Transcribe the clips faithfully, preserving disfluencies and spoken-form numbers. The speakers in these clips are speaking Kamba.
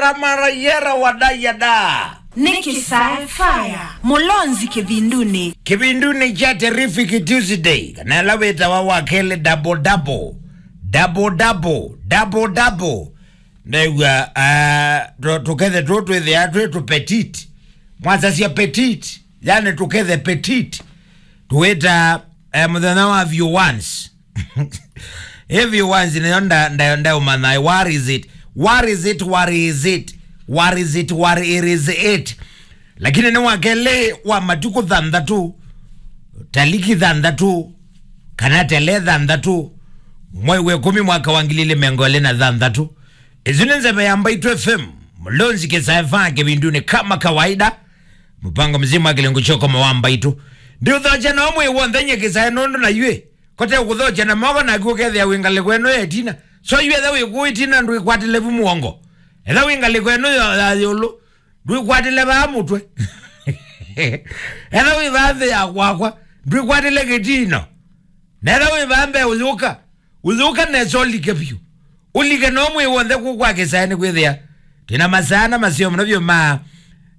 Amarayera wadayada. Nĩ Kĩsae Fire, Mũlonzi kĩvindunĩ. Kĩvindunĩ kya Terrific Tuesday, kana ĩla wĩtawa wa kelĩ double double. Double double, double double. Ndew'a, ah, tũ- tũkethe tũ twĩthĩa twĩ tũ petite. Mwasasya petite, yani tũkethe petite. Tũwĩta, eh, mũthenya wa few ones. If you want, nĩyo nda- nda- ndaũmanya, what is it? What is it? What is it? What is it? What it is it? Lakini nĩ wa kelĩ wa matukũ thanthatũ, taliki thanthatũ, kana tele thanthatũ, mwei wa ĩkũmi mwaka wa ngili ilĩ mĩongo ĩlĩ na thanthatũ. Ĩsu nĩ nzeve ya Mbaitũ F M, Mũlonzi Kĩsae Fire kĩvindunĩ kama kawaida. Mũpango mzima wa kĩlungu kyoko mawa Mbaitũ. Ndiũthokya no mwĩ w'onthe nye Kĩsae nũndũ na ywĩ. Kote ũkũthokya na moko naku ũkethĩa wĩ ngalĩko ĩno ya ĩtina. So yu etha wĩ kũu ĩtina ndwĩkwatĩle vu mũongo. Etha wĩ ngalĩko ĩno ya ya ĩũlũ ndwĩkwatĩle vaa mũtwe. Etha wĩ vaa nthĩ ya kwakwa ndwĩkwatĩle kĩtino. Na etha wĩ vaa mbee ũyũka, ũyũka nesa ũlike vyũ. Ũlike no mwĩ w'onthe kũu kwa Kĩsae nĩkwĩthĩa twĩna masaa na maseo mũno vyũ ma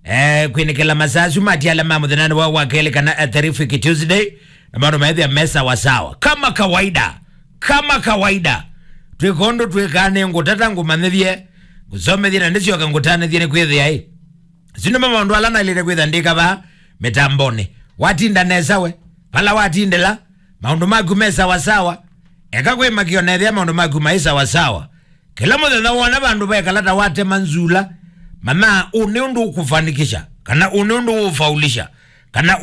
eh, kwĩnĩkĩla masaa asu matiala ma mũthenyanĩ wa wa kelĩ kana a terrific Tuesday, na maũndũ maĩthĩa me sawasawa kama kawaida. Kama kawaida, twĩka ũndũ twĩkaa, nĩ ngũtata ngũmanyĩthye, ngũsomethye na ndĩsyoka ngũtanĩthye nĩkwĩthĩa ĩ, isu nĩmo maũndũ ala naĩlĩte kwĩtha ndĩka vaa mĩtambonĩ. Watinda nesa we, vala watindĩla, maũndũ maku me sawasawa. Eka kwĩ makĩo na ethĩa maũndũ maku maĩ sawasawa. Kĩla mũthenya wona vandũ vekala ta watema nzula, manya ũũ nĩ ũndũ ũkũfanikisha, kana ũũ nĩ ũndũ ũũfaulisha, kana